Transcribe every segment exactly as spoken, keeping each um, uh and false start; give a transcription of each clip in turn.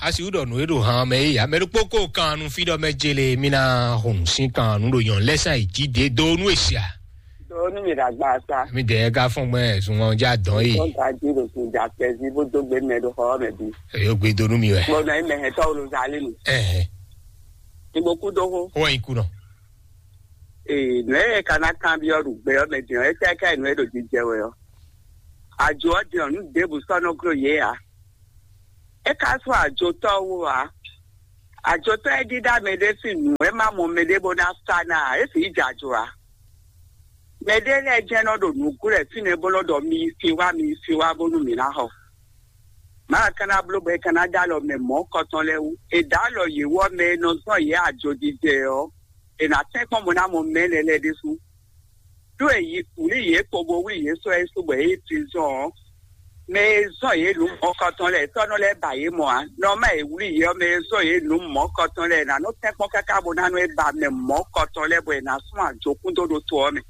A si wú ɖɔ nǔ e ɖo han mɛ é ya mɛ ɖokpó ko kan nu fí ɖɔ mɛ jele mí ná hun sín kan nu ɖo nyɔ̌nu lɛ́ sán yi jí ɖě dó nú e sia. Dó nú mi ɖagba sa. Mi dɛ ka fɔn gbɛ zun ɔn ja dɔn yi. Sɔn ka jí ɖo kun ja kpɛzi bó dó gbe mɛ ɖo xɔ mɛ bí. Eyo gbe dó nú mi wɛ. Gbɔdɔ yi mɛ hɛn tɔw lo zali nu. Ɛhɛn. Igbo kú dó xó. Ó wɛ yi kú nɔ. Ee, nǔ e ka ná kanbyɔ́ ɖo gbɛ ɔ́ mɛ din ɔ́, é tɛ́ ká nǔ e ɖo jijɛ wɛ ɔ́. Ajo ɔ́ din ɔ́, nǔ ɖěbǔ sɔ́ nɔ gló yě ǎ. É ka sú ajotɔ́ wú ǎ. Ajotɔ́ e ɖíɖá mɛɖé sín nǔ e ma mɔ mɛɖé bó ná sa ná ǎ, é sixú jɛ ajo ǎ. Mɛɖé lɛ́ɛ jɛ́n nɔ ɖo nǔ glɔ́ fínɛ́ bó nɔ ɖɔ mi yi sin wá, mi yi sin wá bónú mǐ ná xɔ. Mǎ ka ná bló bɔ é ka ná dó alɔ mɛ mɔ̌kɔtɔn lɛ́ɛ wú. È dǒ alɔ yě wú ɔ́, mɛ e nɔ zɔ́n yě ajojijɛ ɔ́, è nǎ tɛ́nkpɔ́n bó ná mɔ mɛ énɛ́ lɛ́ɛ ɖésú. Ɖó è yi wlǐ yě kpo bó wlí yě sɔ́ yě su bɔ yě yi prison ɔ́, mɛ e zɔ́n yě nǔ mɔ̌kɔtɔn lɛ́ɛ, tɔ́ nɔ lɛ́ ba yě mɔ ǎ. Nɔ má è wlí yě ɔ́, mɛ e zɔ́n yě nǔ mɔ̌kɔtɔn lɛ́ɛ, è nǎ nɔ tɛ́nkpɔ́n káká bó ná nɔ é ba mɛ mɔ̌kɔtɔn lɛ́ɛ bɔ è nǎ sún ajokún dó ɖó to ɔ́ mɛ.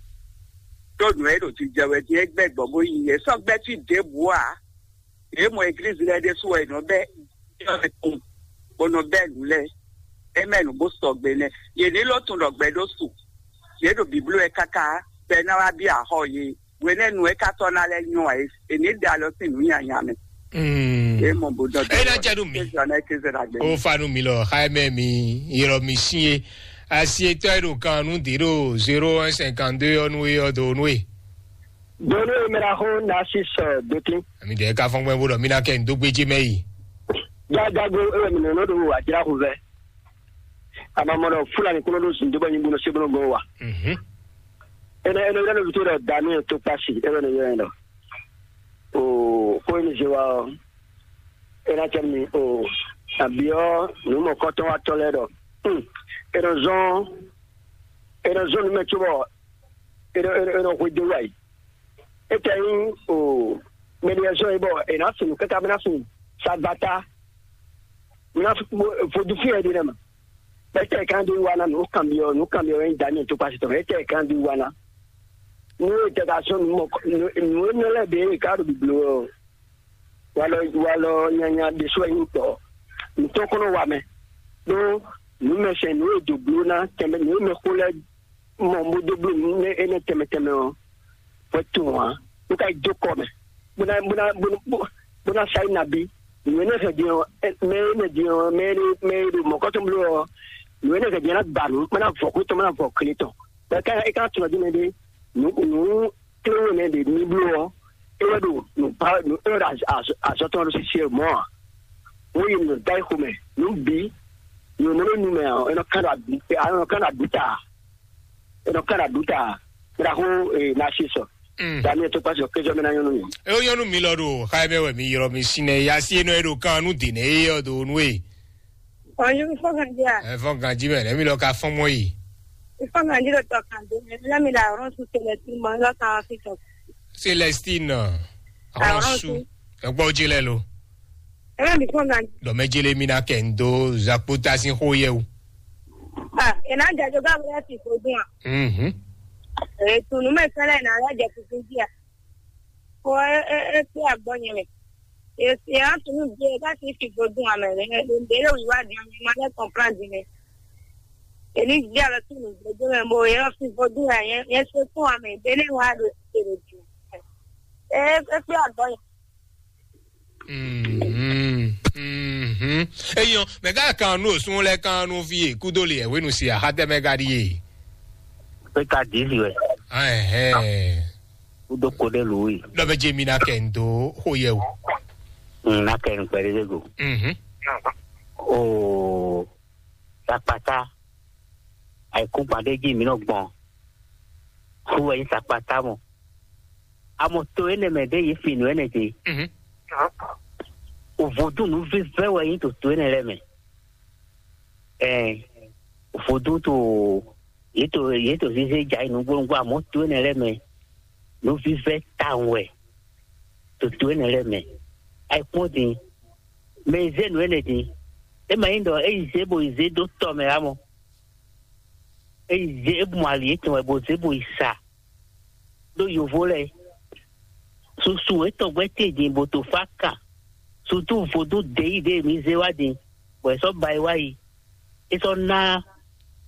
Ɖó nǔ e ɖo jijɛ wɛ din é gbɛ gbɔ bó yi yě sɔ́ gbɛ́ fí ɖěbǔ ǎ. Yě mɔ eglízi lɛ́ɛ ɖésú wɛ è nɔ bɛ́ bó nɔ bɛ́ nǔ lɛ́ɛ. É mɛ nǔ bó sɔgbe nɛ́. Yě ní ló tunwun ɖɔ gbɛ ɖó su. Yě ɖo bǐbló wɛ káká bɔ é ná wá bí axɔ yě. Hwenɛ́nu é ka sɔ́ ná lɛ́ nyɔ́ ǎ é. È ní ɖe alɔ sín nǔ nyanya mɛ. Mm. É mɔ bó dɔn É ná jɛ nú mi. Kézɔ ná kézɔ ná gbé. Ó fa nú mi lɔ, xá ɛ mɛ mi, ylɔ mi sín é. Asi etɔ́ e ɖo kan nú dě ɖo zéro un cinquante deux ɔ́ nú é ɔ́ dó nú é. Donu e mɛ ɖaxó Narcisse Dotin. Ami ɖe ka fɔn gbɛn bó ɖɔ mí ná kɛ ndo gbéjé mɛ yi. Jájágó e wɛ mi nɔnɔ ɖo wà jra xu vɛ. Ama mɔ ɖɔ Fulani kúnɔ ɖo zun dó bɔ nyi bó nɔ sé bó nɔ gbɔn wa. Mhm. Ene ene yɛrɛ ló tó ɖɔ Daniel tó kpasi e wɛ ne yɛrɛ ɖɔ. O ko ni zé wa ɔ. Ena tɛ mi o. Abiɔ nu mɔ kɔtɔn wa tɔ lɛ ɖɔ. Hmm. Ena zɔn ena zɔn numɛ tso bɔ ena ena ena hwe dó wa yi. Etɛ yin o mɛɖiɛzɔn yi bɔ e na sun kaka bena sun sagbata. Mina vodun fi yɛ ɖi nɛ ma. Etɛ kan ɖi wa na nu kan biɔ nu kan biɔ yin dani to pasi tɔn etɛ kan ɖi wa na. Nu etɛ ka sɔn nu mɔ nu nu enɛ lɛ de ka ɖo biblo ɔ. Walɔ walɔ nyanya ɖe so yin tɔ. Nutɔ kɔnɔ wa mɛ. Ɖo nu mɛ sɛn nu e do blo na tɛmɛ nu e mɛ xo lɛ mɔ bó dó bló nǔ énɛ́ tɛnmɛ tɛnmɛ ɔ́, hwɛ tunwun ǎ. Bó ka yi dó kɔ mɛ, bó ná bó ná bó ná bó ná sa yi nabí. Nǔ énɛ́ hɛn din ɔ́, mɛ énɛ́ din ɔ́, mɛ énɛ́ mɛ e ɖo mɔ̌kɔ́tɔn bló ɔ́, nǔ énɛ́ hɛn din ɔ́ ná gba nǔ, má ná vɔ xwé tɔn, má ná vɔ klé tɔn. Bɔ é ka é ka tunwun dín mɛ ɖé, nǔ nǔ klé wé nɛ́ ɖe ní bló ɔ́, é wɛ ɖo nǔ ba nǔ é wɛ ɖo azɔ tɔn ɖo sisi mɔ̌ ǎ. Wọ́n yi nǔ da yi xomɛ, nǔ bǐ, nǔ mɔ nú nu mɛ ɔ́, é nɔ kán ɖo abǐ, é nɔ kán ɖo abǐ ta. Eno kana duta mira ho na si sɔ. Mm. Daniel to kpasi o kejo mena nyɔnu mi. E o nyɔnu mi lɔ ɖo xa mɛ wɛ mi ylɔ mi si nɛ ya si enɔ e ɖo kan nu de nɛ e yɔ do nu e. Ɔyún fɔkàn jẹ́ à. Ẹ fɔn ganji mɛ nɛ mi lɔ ka fɔn mɔ yi. Ìfọ̀n ganji ló tọkàn dé mi lẹ́mi la ọ̀rọ̀ sùn tẹ̀lẹ̀ tí mo lọ́kàn wọn fi tọ̀. Celestine. Àwọn Àwọn su. Su. Ẹ gbọ́ jẹ lẹ lo. Ẹ bá mi fọ̀n ganji. Dɔmɛjele mi na kɛ ndo zakpota sin xo yɛ o. Ah, ina jajo ga wala ti ko dun a. Mhm. Eh, tunu me sala ina la ja ti kun dia. Ko e e e ti agbo nyi me. E e a tunu je ga ti ti ko dun a me. E e de le wi wa di me ma le comprendre me. E ni dia le tunu je de me bo e o ti ko dun a ye ye se ko a me de le wa do se le di. E e ti agbo nyi. Mhm, mhm. Eyɔn, mɛ gã kan nu osun lɛ kan nu fi e kudo le ɛwenu si ahatɛ mɛ ga di ye. Pé ka dix wɛ. Ɛhɛn. Kudo ko de lu yi. Dɔ bɛ je mi na kɛ ndo ho yɛ o. Mm, na kɛ nkpɛ de go. Mhm. O sakpata. Ayi kún kpan de ji mi nɔ gbɔn. Hu wɛ nyi sakpata mɔ. Amɔ to énɛ́ mɛ ɖé yě fi nǔ énɛ́ ɖe. Mhm. Vodún nǔvívɛ́ wɛ nyí to to énɛ́ lɛ́ɛ mɛ. Ɛɛ, vodún to yě to yě to zézé ja yi nǔgbónúgbó amɔ̌ to énɛ́ lɛ́ɛ mɛ nǔvívɛ́ tawun wɛ to to énɛ́ lɛ́ɛ mɛ. Ayikpɔ́n din, mɛ e zé nǔ énɛ́ din, é ma nyí ɖɔ é yi zé bo yi zé dó tɔ mɛ ǎ mɔ. É yi zé é bu mɔ ali étɔn wɛ bo zé bo yi sa. Ɖó yovo lɛ́ɛ susu etɔn gbɛ́ te din bo to fá kan Sutu vodún ɖěyi ɖě mi zé wá din, bɔ è sɔ́ ba yi wá yi. É sɔ́ ná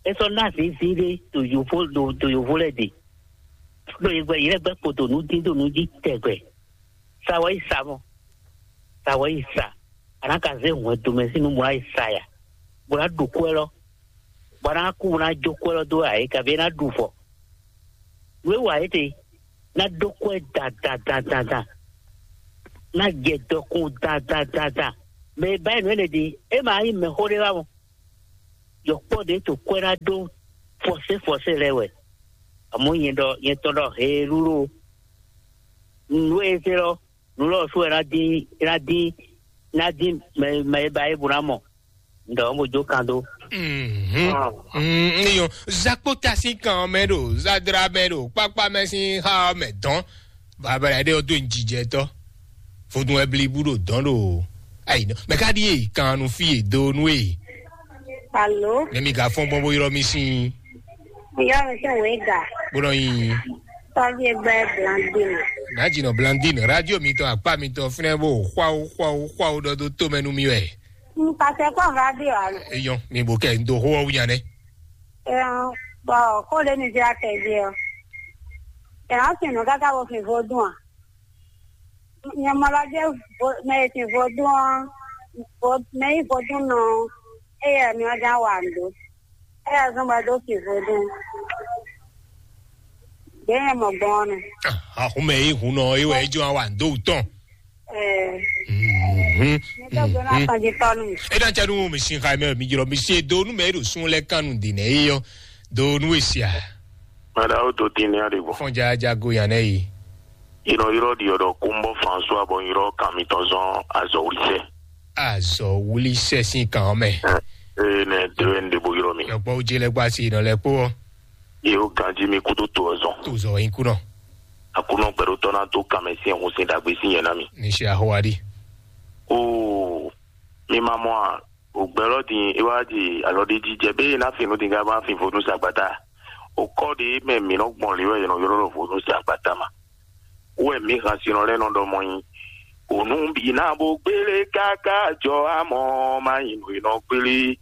é sɔ́ ná zǐnzín ɖé ɖo yovo ɖo ɖo yovo lɛ́ɛ ɖe. Ɖo yě gbɛ yě lɛ́ gbɛ́ kpo ɖo nǔ dín ɖo nǔ jí tɛgbɛ. Sa wɛ yi sa mɔ. Sa wɛ yi sa. A nǎ ka zé hwɛndo mɛ sín nǔ bó ná yi sa ya, bó ná ɖu kwɛ́ lɔ, bó ná kú bó ná jó kwɛ́ lɔ dó ayǐ, kabí é ná ɖu vɔ. Nǔ e wa é te ná dó kwɛ́ dandandandandan, ná jɛ dɔkun dandandandan. Mɛ e ba nyí nǔ énɛ́ ɖe, é ma nyí mɛxó ɖé wá mɔ. Yɔkpɔ́ ɖě to kwɛ́ ná dó fɔsé fɔsé lɛ́ɛ wɛ. Amɔ̌ nyɛ ɖɔ nyɛ tɔn ɖɔ heelú ɖo nǔ e zé lɔ, nǔ lɔ sú wɛ ná dín ná dín ná dín mɛ mɛ e ba é bó ná mɔ. Un ɖɔ mo jó kan dó. Mhm. Mm, ní yɔ zakpota sín kan ɔ́ mɛ ɖo zadra mɛ ɖo kpákpá mɛ sín xá ɔ́ mɛ dɔn. Babala ɖé ɔ́ dó nyí jijɛtɔ́. Vodún wɛ blibu ɖo dɔn ɖo ayi nɔ. Mɛ ka ɖi e kan nu fí e do nu e. Alo, Nɛ mi ka fɔn gbɔn bó ylɔ mi sín. Yɔ mi sɛ wɛ ga. Bó nɔ nyi. Tɔvi egbe Blandine. Nà jìnnà Blandine, radio mi tɔn, akpa mi tɔn, fúnɛ bó xwáwó xwáwó xwáwó ɖɔ dó tó mɛ nú mi wɛ. N ka sɛ kpɔn radio alo. Eyɔn, mi bò kɛ n do xó ɔ́ wú nya nɛ. Ɛn, bɔ kó lé mi zé atɛ jí ɔ. Ɛn, ɔ́ sin nǔ káká wo fin vodún a? Nyɛ mɔ lɔ jẹ́ vo- mɛ e sin vodún ɔ́, vo- mɛ yí vodún nɔ ɔ́, éyɛ́ mi ɔ́ ján wa nǔ ɖó. Éyɛ́ zɔ́n bɔ é dó sin vodún. Ɖě nyɛ mɔ gbɔn ɔ́ nɛ. Ahun mɛ yí hun nɔ é wɛ é jɔ wa nǔ dó wú tɔn. Ɛɛ, Mhm. mi tó gbé ná Mhm. tɔn jí tɔnu. E na tsa nu mi sin xa mɛ mi jlɔ mi sin do nu mɛ e ɖo sun lɛ kan nu di nɛ yi yɔ do nu e sia. Mada o to tin ne a de bɔ. Fɔn ja ja go yan nɛ yi. Yrɔ yrɔ di ɔdɔ kumbɔ François bɔ yrɔ kan mi tɔn zɔn azɔ wuli sɛ. Azɔ wuli sɛ sin kan mɛ. Ee ne de wɛ n de bo yrɔ mi. Yɔkpɔ wo je lɛ gba si nɔ lɛ kpó. Ye o ganji mi kudo to ɔzɔn. To zɔ yin kunɔ. Akunɔ gbɛɖotɔ na to kan mɛ sin ɛhun sin dagbe sin yɛ na mi. Ni si ahowa di. Oo, mi ma mɔ a? Ògbɛ́lɔ́ din é wá di alɔ ɖé jí jɛ bé ná fin nú din ká má fin vodún sagbata. Òkɔ ɖé mɛ mǐ nɔ gbɔn lě wɛ è nɔ ylɔ́ ɖɔ vodún sagbata ma. Wɛ mǐ han sinɔ lɛ́ɛ nɔ ɖɔ mɔ nyi. Ònú bǐ ná bó gbélé káká jɔ amɔ má nyi nǔ e nɔ gbélé.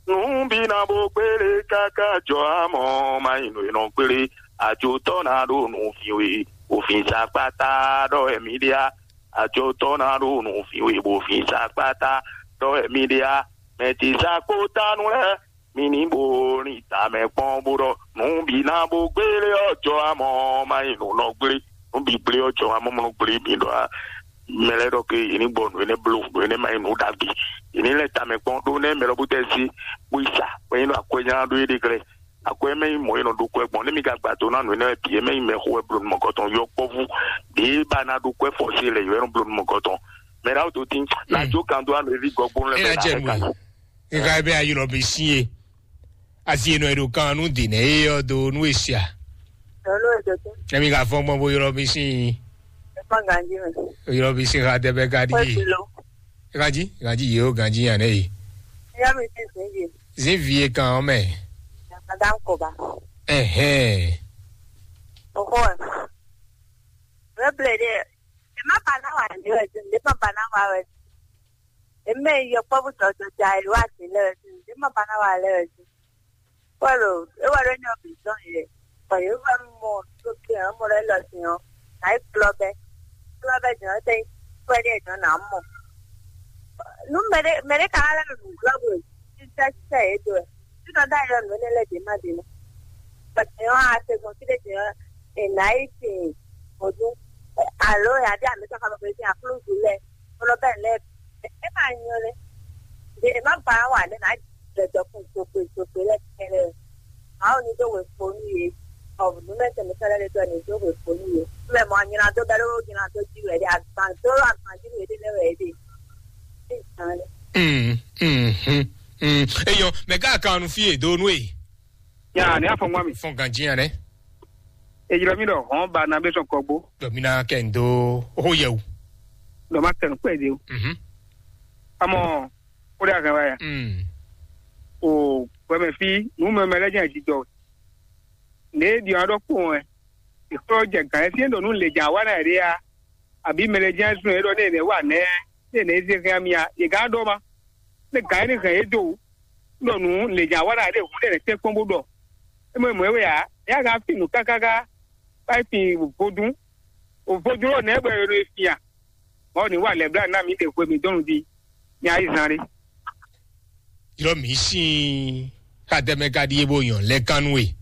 Nǔ bǐ ná bó gbélé káká jɔ amɔ má nyi nǔ e nɔ gbélé. Àjotɔ́ ná ɖo nǔ fin we, òfin sagbata ɖɔ wɛ mǐ ɖe á. Àjotɔ́ ná ɖo nǔ fin we bó fin sagbata ɖɔ wɛ mǐ ɖe á. Mɛ ce sa kpó tánu lɛ́ɛ, mi ní bo ní tamɛ kpɔ́n bó ɖɔ nǔ bǐ ná bó gbélé ɔ́ jɔ amɔ má nyí nǔ nɔ gblé. Nǔ bǐ gblé ɔ́ jɔ amɔ mɔ nɔ gblé mi ɖɔ á. Mɛ lɛ́ɛ ɖɔ ke yě ní gbɔ nǔ énɛ́ bló, nǔ énɛ́ má nyí nǔ ɖagbe. Yě ní lɛ́ tamɛ kpɔ́n ɖó nɛ́ mɛ lɔ bó tɛ sí bó yi sa, bó nyí ɖɔ akwɛ́ nyá ɖó é ɖe glɛ́. Akwɛ́ mɛ nyí mɔ̌ é nɔ ɖó kwɛ́ gbɔn, nú mi ka gba do ná nǔ énɛ́ bǐ é mɛ nyí mɛxó wɛ bló nú mɔ̌kɔtɔn yɔkpɔ́vú. Ɖě ba ná ɖó kwɛ́ fɔ́sí lɛ yɔ é nɔ bló nú mɔ̌kɔtɔn. Mɛ ɖaxó tó tín, ná jó kan dó anu éví gɔgbónú lɛ́ɛ É ná mɛ jɛ nú ná ɛ. Nígbà bí ayé lɔ bí sí e, asi e nɔ e ɖo kan nú dě nɛ é ɔ́ dó nú e sia. Lolo edodo. Emi ka fɔn gbɔn bo ylɔ mi sín. Efa ganji me. Ylɔ mi sín ha dɛbɛ ka di. Kɔsi lo. Ganji, ganji ye o ganji yan ne yi. Ya mi ti zinji. Zin vie kan ɔ́ mɛ. Madame Koba. Ɛhɛn. Oho ɛ. Reble de. E ma ba na wa ne wɛ zin. E ma ba na wa wɛ zin. E mɛ yɔkpɔ́vú jɔjɔjɔ a yi wa zin lɛ wɛ zin. E ma ba na wa lɛ wɛ zin. Pɔ́lu, é wɛ ɖó nyɔ́ bǐ zɔn yě, bɔ yě wɛ mɔ tókè ɔ́, mɔ lɛ́ lɔ din ɔ́, nǎ yi kplɔ́ bɛ́. Kplɔ́ bɛ́ din ɔ́, tɛ́ nyí kúvɛ́ ɖé din ɔ́, nǎ mɔ. Nú mɛɖé mɛɖé ka wá lɛ́ ɖo nǔglɔ́ bwe, sísɛ́ sísɛ́ yě dó wɛ. Fínɔ ɖó ayɔ nǔ énɛ́ lɛ́ɛ ɖě má ɖě mɛ. Bɔ din ɔ́, a se gbɔn fí ɖé din ɔ́, è nǎ yi sin vodún. Alo è nǎ ɖe amǐtɔn xá mɛ sín aklúzu lɛ́ɛ, kplɔ́ bɛ́ lɛ́ɛ. É ma nyɔ́ nɛ́. Ɖě è má ba wa lɛ́ nǎ jɛ dɔkun zogbe zogbe lɛ́ɛ kɛ́ɖɛ́. Mawu ní dó wěkpo nú yě. Ɔ, nǔmɛtɛn mǐtɔn lɛ́ɛ ɖe dó ní dó wěkpo nú yě. Mɛ mɔ nylá dó bɛ́ ɖó nylá dó jí wɛ ɖe, agban dó agban jí wɛ ɖe lɛ́ɛ wɛ ɖe. Mm, mm, mm, mm. Eyɔn, mɛ gã kan nu fí e dó nú e. Ya, ní afɔngba mi. Fɔn ganji ya nɛ. Ejlɔ mi ɖɔ hɔn ba na bɛ sɔn kɔgbó. Dɔ mi na kɛ n do ho yɛ o. Dɔ ma kɛ n kpɛ de o. Mhm. Amɔ, o de a kan wa ya. Mm. O gbɛmɛ fi nu mɛ mɛ lɛ jẹ jijɔ. Ne di ɔn ɖɔ kpɔn ɛ. Ìkplɔ jɛ gàn ɛ fi ɖɔ nu le jà wa na yɛ ɖe ya. Àbí mɛ lɛ jẹ sun ɛ ɖɔ ne ne wa nɛ. ní è nɛ̌ zé hɛn ami a, yě gán ɖɔ ma. Ní gǎn énɛ́ hɛn yě dó wǔ, ɖɔ nǔ lě nya wa ɖa ɖě hǔn ɖé lɛ̌ tɛ́nkpɔ́n bó ɖɔ. É mɔ mɔ̌ é wɛ ǎ, é yá gán fin nǔ káká gá bá yi fin vodún. Vodún ɔ́ nɛ̌ bɔ è nɔ e fin a? Mɔ̌ ní wa lɛ̌blá ná mǐ ɖe hwe mǐ dɔn nǔ jí. Nya yi zan ɖé. Ylɔ́ mǐ sín xadɛmɛ ka ɖíe bó nyɔ̌ lɛ́ kan nú we.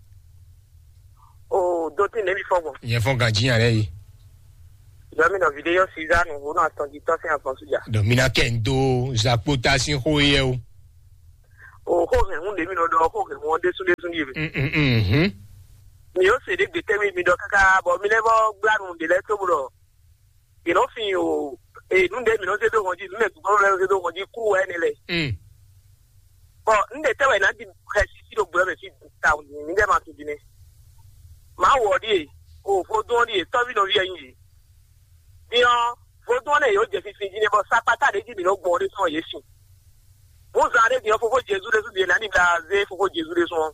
O dó tí nɛ̌ mi fɔ́n gbɔn. Nyɛ fɔ́n ganjí nya lɛ́ɛ yi. Dɔmi nɔ vidéo Suzanne Huno atɔnjitɔ sin agbɔn suja. Dɔ mi na kɛ n do zakpota sín xó yɛ o. O xó hɛn hun de mi nɔ dɔ xó hɛn hun ɔdé sun de sun de mi. Mhm. Mi o se de gbetɛ mi mi dɔ kaka bɔ mi lɛ bɔ gbla nu de lɛ to blo. Yìí nɔ fin o e nu de mi nɔ se do hɔn ji nu de gbɔn lɛ se do hɔn ji kú wɛ ne lɛ. Mm. Bɔn n de tɛ wɛ na di xɛ sisi do gbɛ mɛ fi ta mi dɛ ma tu di ne. Ma wɔ di e o vodun di e tɔvi nɔ vi ɛyin di. Din ɔ́, vodún ɔ́ lɛ́ yě ó jɛ finfin jí nɛ́ bɔ sakpata ɖě jí mǐ nɔ́ gbɔn ɔ́ ɖésú ɔ́ yě sin. Hǔn zan ɖé din ɔ́, fofó Jezu ɖésú din ná ní bla zé fofó Jezu ɖésú ɔ́.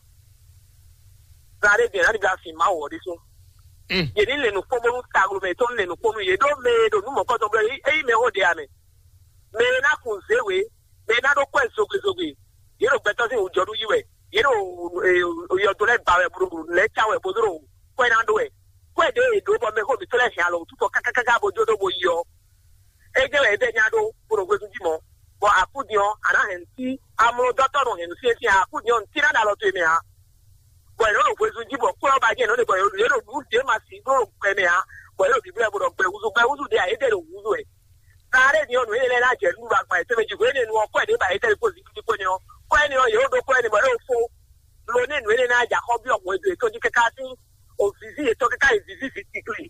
Zan ɖé din ná ní bla fin Mawu ɔ́ ɖésú. Yě ní lɛ nǔkpɔ́n bónú taglomɛ yětɔn ní lɛ nǔkpɔ́n nú yě ɖó mɛ e ɖo nǔ mɔ̌kɔtɔn blɛ́ é yí mɛ xó ɖe ǎ mɛ. Mɛ e ná kun zě wě, mɛ e ná ɖó kwɛ́ zogbezogbe, yě ɖo gbɛtɔ́ sín wǔjɔnú yí wɛ. Yě ɖo yɔdo lɛ́ɛ ba wɛ bó ɖo lɛ́ɛ cá wɛ bó ɖo kwɛ́ ná ɖó wɛ. Kwɛ́ ɖě e ɖǒ bɔ mɛxó mǐtɔn lɛ́ɛ hɛn alɔ wǔtu tɔn kákákáká bó jó ɖó bó yi ɔ́, é jɛ wɛ é bɛ́ nya ɖó bó ɖo hwezun jí mɔ̌. Bɔ akúdin ɔ́, a nǎ hɛn nǔ sí amlɔdɔ́tɔ́ nɔ hɛn nǔ syɛ́nsyɛ́n akúdin ɔ́, nǔ sí ná ɖo alɔ towe mɛ ǎ. Bɔ è nɔ ɖo hwezun jí bɔ kwlɔ́ ba jɛ nɔ ɖe bɔ yě ɖo nǔ ɖě ma sí ɖó ɖo gbɛ mɛ ǎ. Bɔ yě ɖo bǐblɛ́ bó ɖɔ gbɛ húzú gbɛ húzú ɖě ǎ, é ɖě ɖo húzú wɛ. Taɖé ni ɔ́, nǔ énɛ́ lɛ́ɛ ná jɛ nú ɖagba yětɔn mɛ jí hwenu e nu ɔ́ kɔ́ ɛ ɖě ba yě tɛ́ kó zǐngídi kpó ni ɔ́, kɔ́ ɛnɛ ɔ́, yě ɖo ɖó kɔ́ ɛnɛ bɔ é ɖo fó. Lo nɛ nǔ énɛ́ ná jɛ axɔ́ byɔ́ hwɛndo yětɔn jí káká sín òvǐví yětɔn káká yi vǐví vǐ tikli.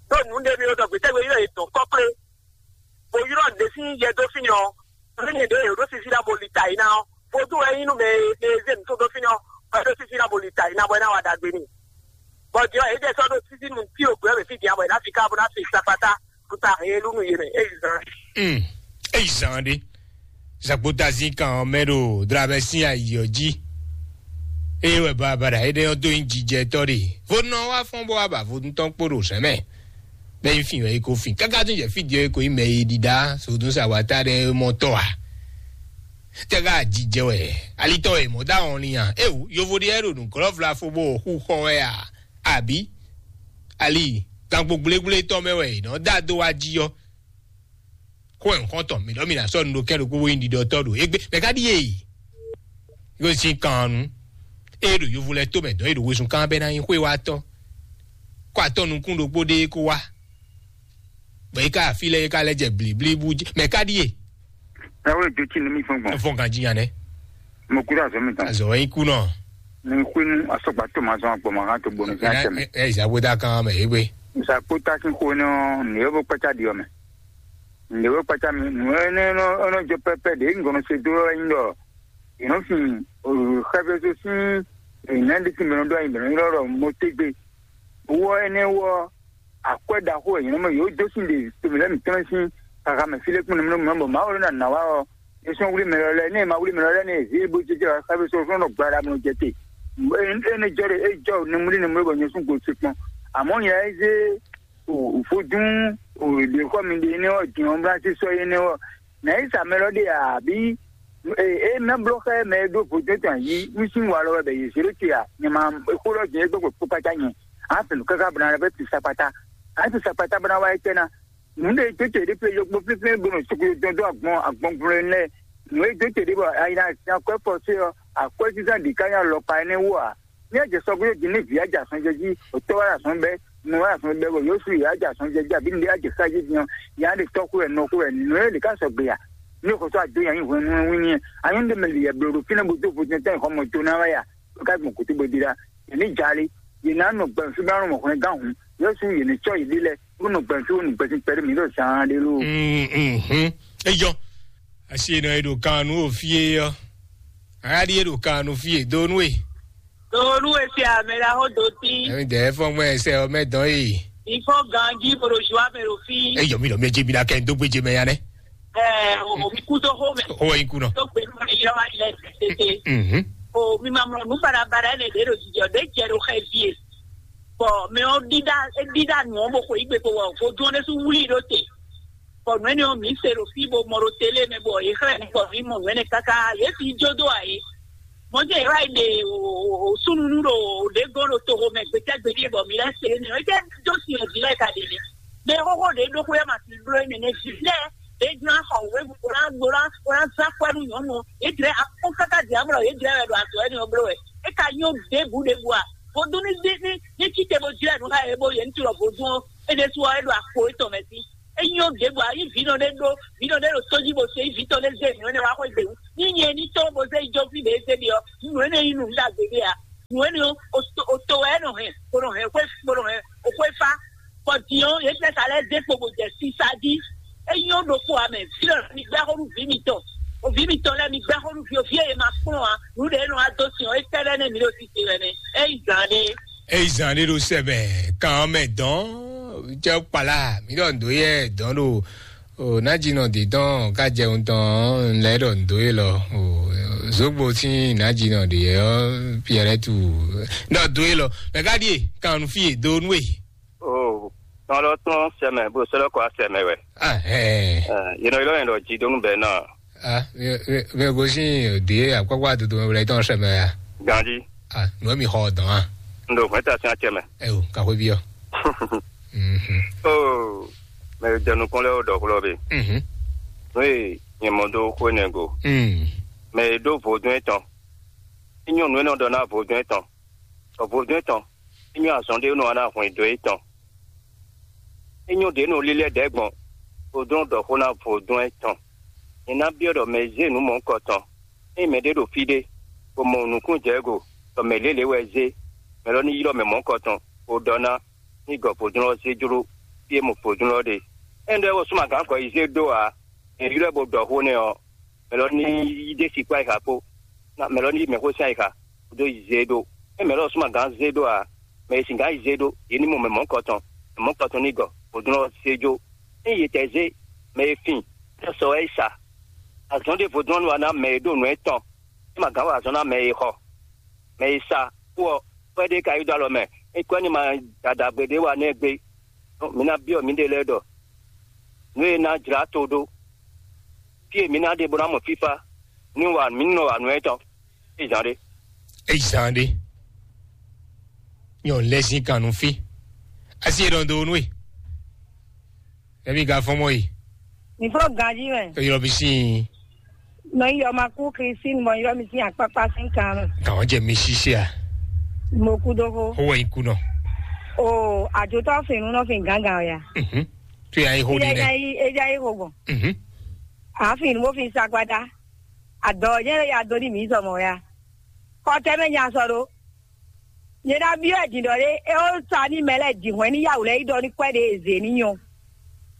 Ɖó nǔ ɖé mi ɖɔ gbětɛ́gbé ylɔ́ yě dɔn kɔ́kplé, bó ylɔ́ ɖě sín yɛ dó fínɛ́ ɔ́, nǔ énɛ́ ɖě yě ɖó sísí ná bo li ta yi ná ɔ́, vodún wɛ nyí nú mɛ e mɛ e zé nǔ tó dó fínɛ́ ɔ́, bɔ é ɖó sísí ná bo li ta yi ná bɔ é ná wa ɖagbe n'i. Bɔ din ɔ́, yě jɛ sɔ́ ɖó sísí nǔ tí o gbě ɔ́ mɛ fí din ǎ, bɔ è nǎ fi ká bó ná fi sakpatá. Kuta helu nu yele eyi zan. Mm. Eyi zan ɖe. Zagbota zin kan mɛ ɖo dramɛ sín ayi ɔ́ jí. Eye wɛ babada éɖé ɔ́ dó nyi jijɛtɔ́ ɖe. Vodun ɔ́ wá fɔ́n bó wá ba vodun tɔn kpó ɖo zɛ̌n mɛ. Bɛ́ nyi fin wɛ é ko fin. Káká tún jɛ fí din ɔ́ é ko nyí mɛ e ɖiɖa sodun sa wata ɖe mɔ tɔ́ a. Tɛ́ ká jijɛ wɛ. Alitɔ wɛ mɔ dá wɔn ni a. Ewu, yovo ɖe ɛ ɖo nǔglɔ́vla fó bó xú xɔ wɛ a. Àbí ali gangbo gblégblé tɔn mɛ wɛ è nɔ dá dó wá jí ɔ́. Xó ẹ̀ nukɔn tɔn mǐ ɖɔ mǐ ná sɔ́ nu ɖo kɛ́n ɖokpó bó nyí ɖiɖɔtɔ́ ɖo égbé mɛ ká ɖíe. Yóò sín kan nu. É ɖo yovo lɛ́ɛ tó mɛ dɔn é ɖo wezun kán bɛ́ ná nyí xwé wá tɔ́. Kó atɔ́ nukún ɖokpó ɖé kó wá. Bɔ é ká afí lɛ́ɛ é ká lɛ́ jɛ blǐblí bú jí mɛ ká ɖíe. Ẹ wé dó tí ní mí fún gbɔn. Ẹ fún kan jí yan dɛ. Mo kúrò azɔ mi tán. Azɔ wɛ ikú náà. Ní kú inú asọ́gbà tó máa zan agbọ̀n máa tó gbóni sí àṣẹ mi. Ẹ ẹ ìsàbò dá kan mẹ é gbé. Ìsàkpó tá sí kó ní ọ́ ní ó bó pẹ́tà di ọ́ mẹ́. Ní ó pẹ́tà mi nù ẹ́ ní ọ́ ní jọ pẹ́pẹ́ dé ńgọ̀nà ṣe dó ẹ́ ń lọ. Ìnú fi òrùkẹ́fẹ́ tó sí ìnáńdí tí mìíràn dó àyìnbẹ̀rẹ̀ ńlọ́rọ̀ mo tégbe. Wọ́ ẹ́ ní wọ́ akwɛ́ ɖaxó e nyɔ̌nu mɛ yǒ dó sín ɖe tomɛ lɛ́ɛ mǐtɔn sín xaxa mɛ fí lɛ́ kpɔ́n nɛmúnɛmú bɔ Mawu ló ná nǎ wá ɔ́, é sɔ́ wlí mɛ lɔ lɛ́ɛ, ní e ma wlí mɛ lɔ lɛ́ɛ ní e zě bó jɛjɛ wá xá fí sɔ́ sɔ́ nɔ gba ɖa mɔ jɛ te. Énɛ́ jɔ ɖe é jɔ nɛmúlí nɛmúlí bɔ nyɛ sún go se kpɔn. Amɔ̌ nyɛ é zé vodún ɖě xɔ mi ɖe énɛ́ ɔ́ din ɔ́ bla sí sɔ́ énɛ́ ɔ́, nǎ yi sa mɛ lɔ ɖe ǎ bí? Ee, é ná bló xá mɛ e ɖó vodún tɔn yí nú sín wa lɔ wɛ bɛ yě zé ɖó te ǎ. Nyɛ ma xó lɔ jɛ é gbɛ́ kpó kpácá nyɛ. Á fɛ nǔ káká bɔ ná lɛ́ vɛ́ tu sakpata. Á tu sakpata bɔ ná wá étɛ́ ná. Nǔ ɖé tó te ɖé pé yɔkpɔ́ flínflín bó nɔ suklu dɔn dó agbɔn agbɔngblo lɛ́ɛ. Nǔ e dó te ɖé bɔ ayi ná sin akwɛ́ fɔ sé ɔ́, akwɛ́ sísán ɖě ká nyí alɔkpa énɛ́ wú ǎ. Ní a jɛ sɔgbe din ní vǐ a jɛ azɔn jɛ jí, otɔ́ wá azɔn bɛ́, nɔ wá azɔn bɛ́, bɔ Yosu yě a jɛ azɔn jɛ jí, abǐ nǔɖé a jɛ xá jí din ɔ́, yě á ɖe tɔ́ xú wɛ, nɔ xú wɛ, nǔ e lě ká sɔgbe a? Ní xɔsɔ ado nyi hwenu wínní a nyɔ́ ɖe mɛ lǐyɛ bló ɖo fínɛ́ bó dó vodún tɛ́ xɔ mɔ do ná wá ya, bó ká gbɔn kútú bó dí ɖá. Yě ní jali, yě ná nɔ gbɛ̀n fí bá nɔ mɔ hwlɛngán hǔn, Yosu yě ní cɔ́ yě ɖi lɛ, bó nɔ gbɛ̀n fí bó nɔ gbɛ̀n sín kpɛɖé mǐ ɖo zaan ɖé ló. Eyɔ, asi e nɔ e ɖo kan nú o fí é ɔ́, aɖi e ɖo kan nú fí é dó nú e. Donu esi ame la ho do ti. Ɛmi dɛ fɔn gbɛ sɛ ɔmɛ dɔn e. Ifɔ ganji boro ju ame ɖo fi. Eyɔ mi lɔ mi edze mi la kɛ n dó gbedze mɛ ya nɛ. Ɛɛ o mi kú tó xó mɛ. Xó wɛ nyi kú nɔ. Tó gbe nɔ yɔ wa yɛ tete. Mhm. O mi ma mlɔ nu barabara ne ɖe ɖo jijɔ ɖe jɛ ɖo xɛ vie. Bɔn mɛ ɔ ɖiɖa ɖiɖa nu ɔ bo xɔ igbe ko wɔ vodun ne su wuli ɖo te. Bɔ nǔ énɛ́ ɔ́, mǐ se ɖo fí bo mɔ ɖo télé mɛ, bɔ yě xlɛ́ mǐ bɔ mǐ mɔ nǔ énɛ́ káká, yě fi jó dó ǎ é. Mɔ̌ jɛ yě wá yi ɖe súnunu ɖo ɖě gɔ́n ɖo toxo mɛ gbetɛ́gbedíe, bɔ mǐ lɛ́ se énɛ́ ɔ́, é jẹ́ dó sin ɔ́ jí lɛ́ɛ ka ɖe nɛ́. Mɛ xóxó ɖě ɖokpó wɛ ma sin bló énɛ́ nɛ́ jí lɛ́ɛ, ɖě jlá xɔ wěwu bó ná bó ná bó ná zán kwɛ́ nú nyɔ̌nu ɔ́, yě jlɛ́ akpɔ́n káká ɖi amlɔ, yě jlɛ́ wɛ ɖo azɔ̌ énɛ́ ɔ́ bló wɛ. É ka nyɔ́ ɖěbǔ ɖěbǔ a? Vodún ní ní ní ní cíte bó jlɛ́ nǔ xá yě bó yě ní tilɔ vodún ɔ́, é ɖésú ɔ́, é ɖo akpo étɔn mɛ sí. É nyɔ́ ɖěbǔ a, yí vǐ nɔ ɖé ɖó vǐ nɔ ɖé ɖo tó jí bó se yí vǐ tɔn ɖé zé nǔ énɛ́ wá xwé gběwú. Ní nyɛ ní tɔ́n bó zé yi jɔfí ɖě zé ɖi ɔ́, nǔ énɛ́ nyí nǔ ɖagbe ɖé a? Nǔ énɛ́ ɔ́, o to o to wɛ é nɔ hɛn, bó nɔ hɛn xwé bó nɔ hɛn o xwé fá. Bɔ din ɔ́, yě jɛ sa lɛ́ɛ zé kpo bó jɛ sisa jí. É nyɔ́ ɖokpó a mɛ, vǐ lɔ mi gbɛ́ xó nú vǐ mitɔn. O vǐ mitɔn lɛ́ɛ mi gbɛ́ xó nú vǐ o vǐ e yě ma kplɔ́n ǎ. Nǔ ɖě e nɔ wá dó sin ɔ́, é tɛ́ lɛ́ nɛ́ mi ɖo sise wɛ nɛ́. É yi zǎn ɖé. Eyi zan ɖé ɖo sɛbɛ kan ɔ́ mɛ dɔn jɛ kpala mi ɖɔ ndo yɛ dɔn ɖo o nadzinɔ de dɔn ka jɛ ŋutɔn lɛ ɖɔ ndo ye lɔ o zogbo sin nadzinɔ de yɛ ɔ piɛrɛ tu ɖɔ do ye lɔ mɛ ka ɖie kan nu fi ye do nu ye. O tɔn lɔ tɔn sɛmɛ bó sɛlɛ kɔ sɛmɛ wɛ. Ahɛn. Yénɔ yɔrɔ yẹn ɖɔ jí dó nú bɛ náà. Ah, mi mi mi gosin de akpakpa dodo mɛ wlɛ tɔn sɛmɛ ya. Ganji. Ah, nɔ mi xɔ dɔn a. N ɖo hwɛta sin acɛ mɛ. Eyo, ka xwe bi ɔ. Mhm. Oh, mɛ jɛ nukɔn lɛ o dɔ xlɔ bi. Mhm. Nú e nyɛ mɔ dó xwe nɛ go. Mm. Mɛ e ɖó vodún etɔn. Inyɔ nú e nɔ ɖɔ ná vodún etɔn. Ɔ vodún etɔn. Inyɔ azɔn ɖé nɔ ná hwɛn dó etɔn. Inyɔ ɖě nɔ lílɛ́ ɖɛ̌ gbɔn. Vodún ɖɔ xó ná vodún etɔn. Nyɛ ná byɔ́ ɖɔ mɛ e zé nǔ mɔ̌hunkɔtɔn. Ényí mɛɖé ɖo fí ɖé, bó mɔ nǔkún jɛ go, bɔ mɛ lělě wɛ zé, mɛ lɔ ní ylɔ́ mɛ mɔ̌hunkɔtɔn, bó ɖɔ ná ní gɔ vodún ɔ́ zé jló fí e mɔ vodún ɔ́ ɖe. Énɛ́ ɖɔ wɛ súnmagǎn kɔ yi zé dó ǎ. È ylɔ́ ɛ bó ɖɔ xó nɛ́ ɔ́, mɛ lɔ ní yí ɖé sixú ayixa kpó, mɛ lɔ ní yí mɛxó sín ayixa, bó dó yi zé dó. É mɛ lɔ súnmagǎn zé dó ǎ, mɛ e singǎn yi zé dó, yě ní mɔ mɛ mɔ̌hunkɔtɔn, mɛ mɔ̌hunkɔtɔn ní gɔ vodún ɔ́ zé jó. Ényí yě tɛ zé mɛ e fin, é sɔ wɛ é sa. Azɔn ɖěvo dɔn nú wa ná mɛ e ɖo nǔ etɔn, é ma gǎn wa azɔn ná mɛ e xɔ. Mɛ e sa kú ɔ́, kwɛ́ ɖé ka yi dó alɔ mɛ, é kwɛ́ ní ma dada gbe ɖé wa nɛ́ gbé. Mi ná byɔ́ miɖée lɛ́ɛ ɖɔ nǔ e ná jlá to ɖó. Fí e mi ná ɖe bó ná mɔ fífá, ní wa mǐ nɔ wa nǔ etɔn. É zǎn ɖé. Eyi zan ɖe nyɔ lɛzin kan nu fi asi e ɖɔn do nu e ɛmi ga fɔn mɔ yi. Mi fɔ ganji mɛ. Eyɔrɔ mi si. Nɔ yi yɔ ma kú Christine mɔ yɔ mi sin akpakpa sin kan mɛ. Kàn jẹ mi sisi a. Mo kú dó ko. Owó yín kú nọ. O àjòtọ́ fìnnú náà fi gángan ọ̀yà. Mhm. Tu yà yín hó ni nẹ. Eja yín hó gbɔn. Mhm. Àáfin ni mo fi sagbada. Àdɔ̀jẹ́ ya dó ní mǐ zɔmɔ ya. Kɔtɛmɛ nya sɔ ɖó. Nyɛ ná byɔ́ ɛ din ɖɔ ɖé, é ó sa ní mɛ lɛ́ɛ din hwɛ̌n ní yá wǔ lɛ́ɛ yi ɖɔ ní kwɛ́ ɖě e zě ní nyɔ.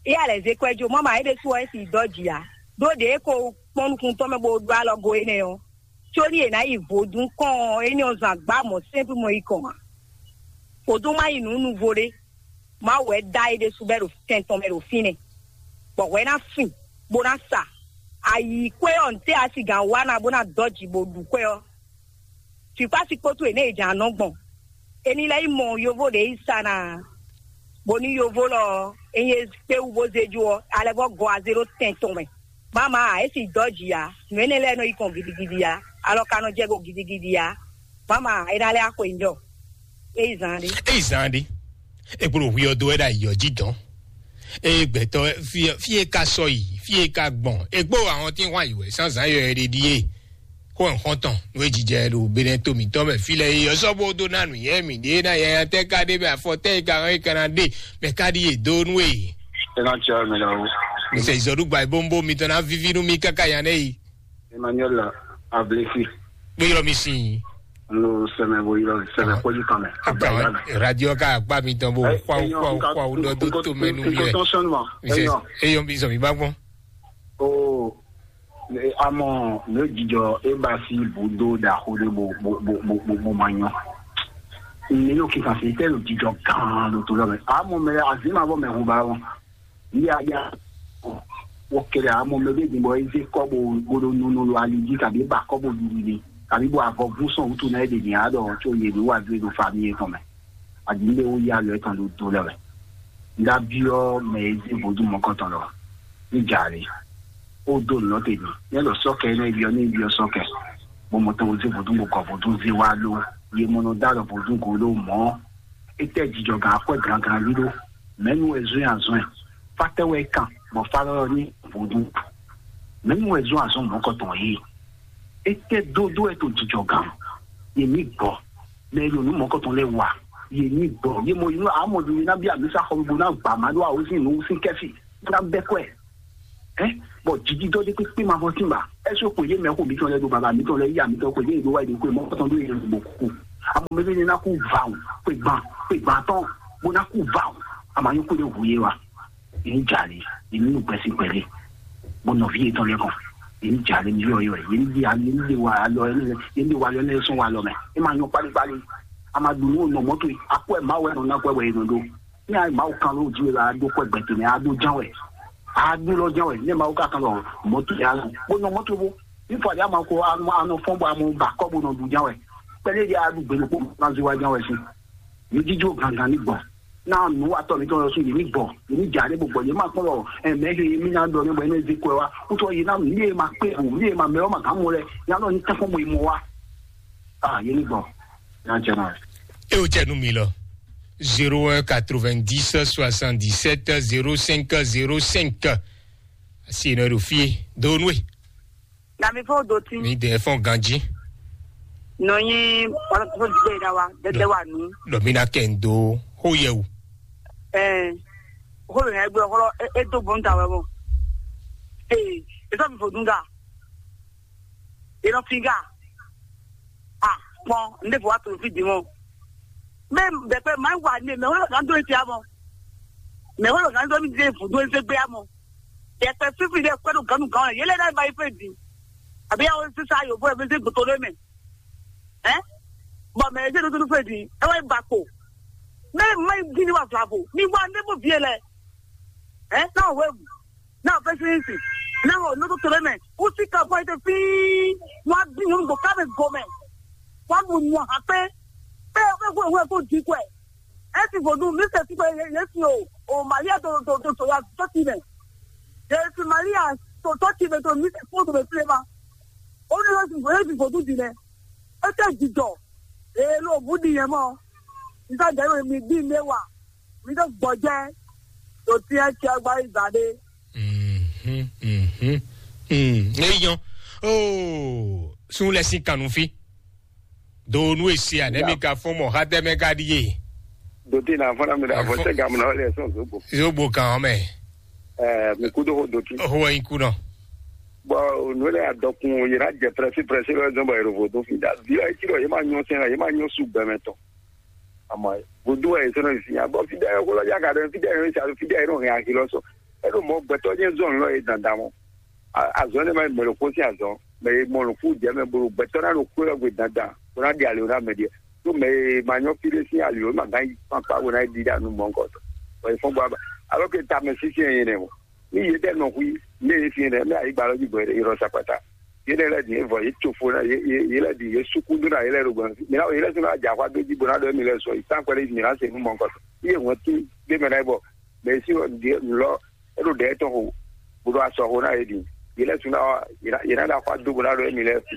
Éyá lɛ̌ zé kwɛ́ jó, mɔ̌ ma é ɖésú ɔ́ é si dɔ́ jǐ ǎ. Ɖó ɖě é ko kpɔ́n nukún tɔn mɛ bó ɖó alɔ go énɛ́ ɔ́, có ní è nǎ yi vodún kɔn ɔ́, énɛ́ ɔ́ zan gbá mɔ̌ sɛ́npú mɔ yi kɔn ǎ. Vodún má yi nǔ nuvo ɖé. Mawu wɛ dá é ɖésú bɔ é ɖo tɛn tɔn mɛ ɖo fínɛ́, bɔ hwɛ ná fin, bó ná sa. Ayi kwɛ́ ɔ́, ntɛ́ a si gǎn wa ná bó ná dɔ́ jǐ bó ɖu kwɛ́ ɔ́? Fǐkpási kpótó è nɛ́ è jǎn nɔ gbɔn. È ní lɛ́ yi mɔ yovo ɖě yi sa ná, bó ní yovo lɔ ɔ́, é nyí kpé wú bó zé jó ɔ́, alɛ vɔ́ gɔ azé ɖó tɛn tɔn mɛ. Mama ǎ, é si dɔ́ jǐ ǎ. Nǔ énɛ́ lɛ́ɛ nɔ yi kɔn gidigidi ǎ. Alɔ ka nɔ jɛ go gidigidi ǎ. Mama ǎ, é ná lɛ́ axwe njɔ. É yi zan ɖé. É yi zan ɖé. É kpló hwi ɔ́ dó wɛ ɖo ayǐ ɔ́ jí dɔn. Eye gbɛtɔ́ fí fí e ka sɔ yi, fí e ka gbɔn, e kpó àwọn tí wọ́n àyè wɛ zǎnzǎn yɔ ɛ ɖe ɖíe. Xó ẹ̀ xɔ́ntɔn nú é jijɛ ɖo Benɛto mǐtɔn mɛ fí lɛ́ɛ é ɔ́ sɔ́ bó dó ná nǔnywɛ́ mǐ ɖé ná yɛya tɛ́ ka ɖé mɛ afɔ tɛ́ e ka hɔn é ka ná ɖe mɛ ka ɖi yě dó nú e. Ena tsia mi la wo. Mise izɔɖugba e bó ń bó mitɔn ná víví nú mi káká nya nɛ yi. Emmanuel Ablesi. Kpé yɔrɔ mi sin. Lo sɛmɛ bo yɔrɔ sɛmɛ kpɔji kan mɛ. Akpa radio ka akpa mi tɔn bo xwa xwa xwa wo dɔ do to mɛ nu mi lɛ. Mise eyɔn bi sɔ mi ba gbɔn. O amɔ ne jijɔ e ba si bu do da xo de bo bo bo bo bo bo ma nyɔ. Ne yo kika se tɛ lo jijɔ gan do to lɔ mɛ. Amɔ mɛ azima bɔ mɛ hu ba wɔn. Yíyá yá wɔ kɛlɛ amɔ mɛ bɛ gbɔ eze kɔbɔ gbɔdɔ nunu lo ali dzi kabi ba kɔbɔ didi de kabi bɔ avɔ vú sɔn wutu na ede nya dɔ tso ye do wa do do fa mi etɔn mɛ adi ne wo ya lɔ etɔn do do lɛ wɛ nda biɔ mɛ eze vodu mɔkɔtɔn lɔ. Ní jǎ lé. Ó dó nǔ nɔ te mi. Ní ɛlɔ sɔ́kɛ ní ɛyɔ ní ɛyɔ sɔ́kɛ. Bɔ mɔ tɔn zé vodún bɔ kɔ vodún zé wá ló. Ye mɔ nɔ dá lɔ vodún go ló mɔ. Étɛ́ jijɔ gǎn akwɛ́ gǎngán lílo. Mɛ̌nu wɛ zɔ́n azɔn ɛ. Fátɛ́ wɛ kan bɔ fá lɔ ní vodún. Mɛ̌nu wɛ zɔ́n azɔn mɔ̌kɔtɔn yìí. Étɛ́ dódó ɛ to jijɔ gǎn. Ye ní gbɔ. Mɛ e ɖo nǔ mɔ̌kɔtɔn lɛ́ɛ wa. Ye ní gbɔ. Ye mɔ inú amɔ ɖo ye ná bí amisa xɔ bo ná gbà má ɖó awosín nǔ sín kɛfì. Ná bɛ kɔɛ. Ɛ bɔ jiji dɔ de kpekpe ma fɔ sin ba. Ɛsɛ ko ye mɛ ko mi tɔn lɛ do baba mi tɔn lɛ ya mi tɔn ko ye do wa ye ko mɔ tɔn do ye bo ku. Amɔ mɛ ne na ku va o. Ko gban ko gban tɔn bo na ku va o. Ama yín ko de hu ye wa. Ye ní jali ye ní nu gbɛsi gbɛli. Bo nɔvi ye tɔn lɛ kɔn. Ye ní jali mi yɔ yɔ ye ní di ye ní di wa alɔ ye ní di wa alɔ ne sɔn wa alɔ mɛ. E ma nyɔ kpali kpali. Ama dunu o nɔ mɔto ye. Akɔ ɛ ma wɛ nɔ na kɔ ɛ wɛ ye nɔ do. Ní ayé Mawu kan ló jí la dó kɔ gbɛtɛ ní adó ján wɛ, adó lɔ ján wɛ ní Mawu ka kan lɔ mɔtò yá lɔ bó nɔ mɔtò bó ní fɔ àdé àmà kó anɔ fɔn bɔ àmà bà kɔ bó nɔ dùn ján wɛ pẹlẹ di adu gbẹlẹ kó nà zí wá ján wɛ sí ní jíjó gangan ní gbɔ náà nù wà tɔ mi tɔ lọ sún yìí ní gbɔ yìí ní jà ní gbogbo yìí má kpɔn lọ ẹmẹ he mi ná dɔ ní bɔ ẹni zí kọ wa wútọ yìí ná mi yé ma kpé o mi yé ma mẹ ọ ma kàn mú lẹ yà lọ ní tẹfọn bọ ìmọ wa ah yìí ní gbọ yà jẹ náà. E o jɛ nu mi lɔ. Zéro un quatre-vingt-dix soixante-dix-sept zéro cinq zéro cinq. Asi nɔ ɖo fie do nue. Na mi fɔ do ti. Mi de fɔ ganji. Nɔ nyi ɔlɔtɔ gbé da wa dɛdɛ wa nu. Lɔ mi na kɛ n do ho yɛ wu. Ɛɛ, ho yɛ gbɛ xɔlɔ e do bɔn ta wɛ bɔ. Ee, e sɔ mi fo dun ga. E nɔ fi ga. Ah, kpɔn, n ɖe fɔ wa to fi di mɔ. Mɛ bɛkpɛ ma wa ne mɛ wolo kan do eti amɔ. Mɛ wolo kan do mi de fu do ese gbe amɔ. Bɛkpɛ fifi de kpɛ do ganu gan ye le na ba ife di. Abi ya wo sisa yo bo e se goto de mɛ. Hein? Bɔ mɛ ese do do fe di. E wa ba ko. Mɛ ma di ni wa flavo. Ni wa ne bo vie lɛ. Hein? Na we. Na fɛsinsi. Na o no to tole mɛ. Usi ka fɔ ite fii. Wa bi nu go ka mɛ go mɛ. Wa bu nu ha pe. Pe pe ko we ko di ko. Esi vodun mi se ti ko ye si o. O Maria to to to to ya to ti mɛ. Ye si Maria to to ti mɛ to mi se ko to mɛ plema. O ni lo si vo ye si vodun di mɛ. E te jijɔ. E lo bu di yɛ mɔ. Nsa jɛ mi di me wa. Mi ɖo gbɔjɛ ɖo tiɛ tiɛ gba yi gba ɖe. Mhm, mhm. Mm, eyɔn. Oh, sun lɛ sin kanu fi. Do nu esi a ne mi ka fɔn mɔ ha tɛ mɛ ka di ye. Doti na fɔna mi da fɔ sɛ gamu na le sɔn zogbo. Zogbo kan mɛ. Eh, mi kudo ho doti. Ho yin ku nɔ. Bɔ nu le adɔkun yira jɛ prɛsi prɛsi lɔ zɔn bɔ yɛrɛ vo do fi da. Vi ayi ti lɔ ye ma nyɔ sɛn ye ma nyɔ su gbɛmɛ tɔ. Ama vodu wɛ yesɔnɔ yi sinya bɔ fidɛ yɛ kolo ya ka ɖe fidɛ yɛ sa fidɛ yɛ nɔ hɛn ahi lɔ sɔ. Eɖo mɔ gbɛtɔ nyɛ zɔn lɔ ye dandan mɔ. Azɔn ne ma yi mɛlɛ ko si azɔn mɛ ye mɔ nukun jɛ mɛ bolo gbɛtɔ na ɖo ko yɔ gbe dandan ko na di ali o na mɛ diɛ. To mɛ ye ma nyɔ fi ɖe si ali o ma gan yi kpankpa ko na yi di da nu mɔ nkɔ tɔ. Wɔ ye fɔn bɔ aba alo ke ta mɛ sisi yɛ ne mɔ. Ni ye ɖe nɔ hui ne ye fi ne mɛ ayi gbalɔ ji bɔ ye ɖɔ sakpata. Ye ɖe lɛ di ye vɔ ye tso fo na ye ye ye lɛ di ye suku do na ye lɛ ɖo gbɔn mi na ye lɛ sɔ na dza xɔ ado ji bo na ɖɔ mi lɛ sɔ yi tan kpɛlɛ mi na se nu mɔ nkɔ ye wɔn ti de mɛ na ye bɔ mɛ si di lɔ e ɖo ɖɛ tɔn xo bo ɖo asɔ xo na ye di ye lɛ sɔ na ye na ye na da xɔ ado bo na ɖɔ mi lɛ fi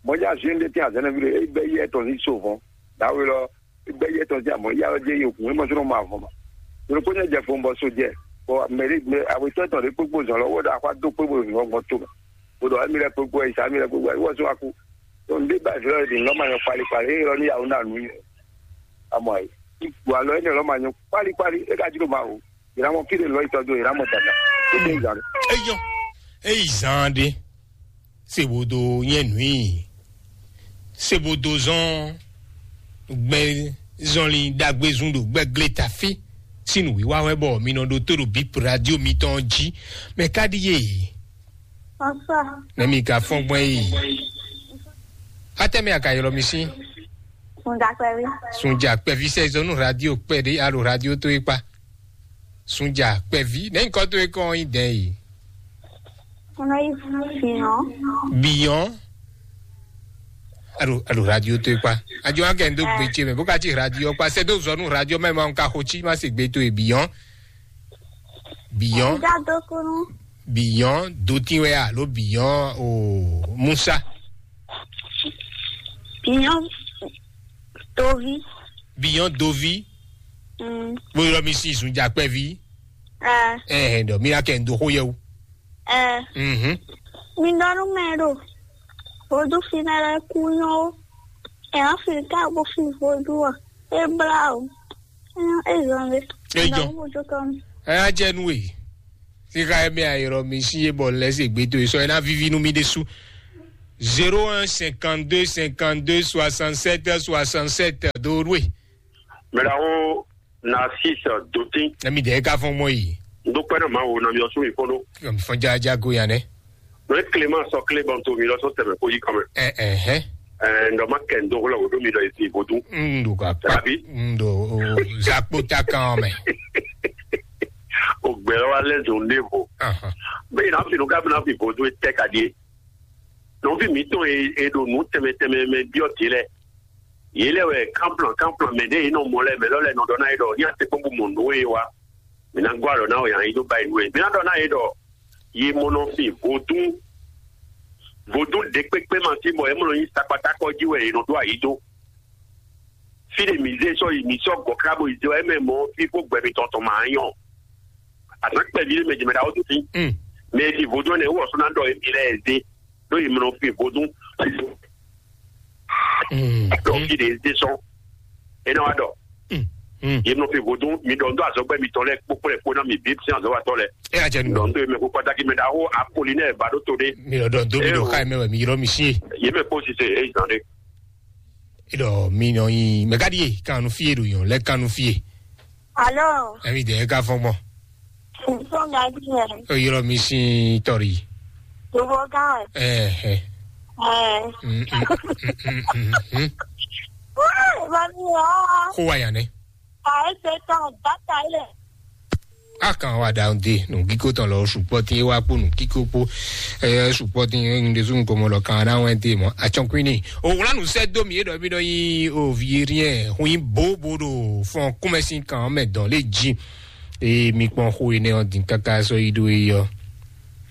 mɔdza zin de ti azɛnɛ bi ɖo e bɛ yi etɔn si so vɔn dawe lɔ bɛ yɛ tɔn jɛ mɔ ya jɛ yɛ kun mɔ sɔrɔ ma vɔn ma yɔrɔ ko nyɛ jɛ fo bɔ so jɛ bɔ mɛri mɛ awetɔ tɔn de kpokpo zɔn lɔ wɔ da akɔ do kpokpo zɔn gbɔn to mɛ o dɔ emi lɛ kpokpo yi sa emi lɛ kpokpo yi wɔ so aku to n de ba zɔrɔ de nɔ ma yɔ kpali kpali e yɔrɔ ni yawu na nu yi amɔ yi wa lɔ ene lɔ ma nyɔ kpali kpali e ka jiro ma o yira mɔ fi de lɔ yi tɔ do yira mɔ dada e de zan. Eyɔ eyi zan de. Se bo do nyɛ nui se bo do zɔn gbɛ zɔnlin ɖagbe zun ɖo gbɛgle tafi sin wíwá wɛ bɔ mi nɔ ɖo tó ɖo bip radio mitɔn jí mɛ ka ɖi ye. Bonsoir. Ne mi ka fɔn gbɔn yi. Atɛ mi aka yɔlɔ mi si. Sunja kpɛvi. Sunja kpɛvi sɛ zɔnu radio kpɛ ɖe alo radio to ekpa. Sunja kpɛvi ne nkɔ to ekɔ yi dɛ yi. Biyan. Alo alo radio to ekpa. Ajo an kɛ n do gbe tse mɛ bó ka tsi radio kpa sɛ do zɔnu radio mɛ ma n ka xo tsi ma se gbe to e biyan. Biyan. Nda do kunu. Biyɔn dotin wɛ alo biyɔn o musa? Biyɔn dovi. Biyɔn dovi. Mm. Bó yɔrɔ mi sí ìsúnjà pẹ́ví. Ẹ. Ẹ ẹ dɔ mi ra kẹ́ ń do xó yẹ o. Ẹ. Mhm. Mi dɔnú mɛ ɖo. Vodún fínɛ́ lɛ́ɛ kú nyɔ́ ó. Ɛ wá fi ká bó fi vodún ɔ. É blá o. É zɔn lé. É jɔ. Vodún tɔn. Ẹ á jẹ nú e. Sika ɛmɛ ayɔrɔ mi sí e bɔ lɛ se gbe to e sɔ e ná vivi nú mi ɖésú. Zéro un cinquante-deux cinquante-deux soixante-sept soixante-sept do nú e. Mɛɖawo Narcisse Dotin. Ɛmi dɛ ka fɔn mɔ yi. N dúpẹ́ náà máa wo nami ọ̀sùn ìfọ́nú. Fɔn jaja go yan dɛ. Mɛ Clément sɔ clé bɔn tó mi lọ sọ tẹ̀mẹ̀ kó yí kan mẹ́. Ɛ ɛ hɛ. Ɛ ŋdɔ ma kɛ ŋdɔ wòlò wòdó mi lɔ ìsìn ìbòdú. Ŋdo ka pa. Tàbí? Ŋdo zakpo ta kan mɛ. O gbɛ wa lɛ zɔn ne vo. Bẹ́ẹ̀ náà fi nù ká bí náà fi ìbòdú tẹ́ ka di é. Nɔvi mǐtɔn e e ɖo nǔ tɛnmɛ tɛnmɛ mɛ byɔ́ din lɛ́ɛ. Yě lɛ́ wɛ kánplɔn kánplɔn mɛ ɖě e nɔ mɔ lɛ́ɛ mɛ lɔ́ lɛ́ɛ nɔ ɖɔ ná yě ɖɔ ní a se kpɔ́n bó mɔ nǔ e wa. Mǐ ná gɔ́ alɔ ná wɛ yǎ yí dó ba yi nú we. Mǐ ná ɖɔ ná yě ɖɔ yě mɔ nɔ fin vodún vodún ɖě kpékpé ma sí bɔ yě mɔ nɔ nyí sakpatákɔ jí wɛ yě nɔ ɖó ayǐ dó. Fí ɖe mǐ zé sɔ́ yi mǐ sɔ́ gɔ̌ ká bó yi zé wɛ é mɛ mɔ fí kpó gbɛ mitɔn tɔn ma nyɔ. Azǎn kpɛví ɖé mɛ jɛ mɛ ɖaxó tún sí. Mm. Mɛ e fi vodún ɛnɛ wɔ sɔ́ ná ɖɔ émí lɛ́ɛ zé ɖó yi mlɔ fi vodún. Mm. Ɖɔ fi ɖe zé sɔ́. É ná wá ɖɔ. Mm. Mm. Yi mlɔ fi vodún mi ɖɔ ŋdɔ azɔgbɛ mitɔn lɛ kpókpó lɛ kpó ná mi bí sin azɔwatɔ lɛ. E a jɛ nu. Ɖɔ ŋdɔ yi mɛ kó kpata kí mɛ ɖaxó apolinaire ba ɖó to ɖé. Mi lɔ dɔn do mi ɖo ká yi mɛ wɛ mi yrɔ mi sí. Yé mɛ kó sise é zan ɖé. Eɖɔ mi nɔ nyi mɛ ka ɖi ye kanu fie ɖo yɔn lɛ kanu fie. Alo. Ɛmi dɛ ka fɔn gbɔn. Nsɔn gadi yɛ. O yɔrɔ mi sin tɔri. Gbogbo gan. Ɛɛ. Ɛɛ. Wáyé bá mi wá. Kó wa yan dɛ. Àìsè tán bàtà ilẹ̀. A kan wa da de nù kíkó tɔn lɔ sùpɔ tí wá kpó nù kíkó kpó ɛ sùpɔ tí ń de sún kɔmɔ lɔ kan ara wɛn te mɔ atsɔnkwini o wla nu sɛ do mi e dɔ mi dɔ yi o vi rien hu yi bo bo do fɔn kúmɛ sin kan mɛ dɔn lé jí e mi kpɔn xo yi nɛ ɔ din kaka sɔ yi do yi ɔ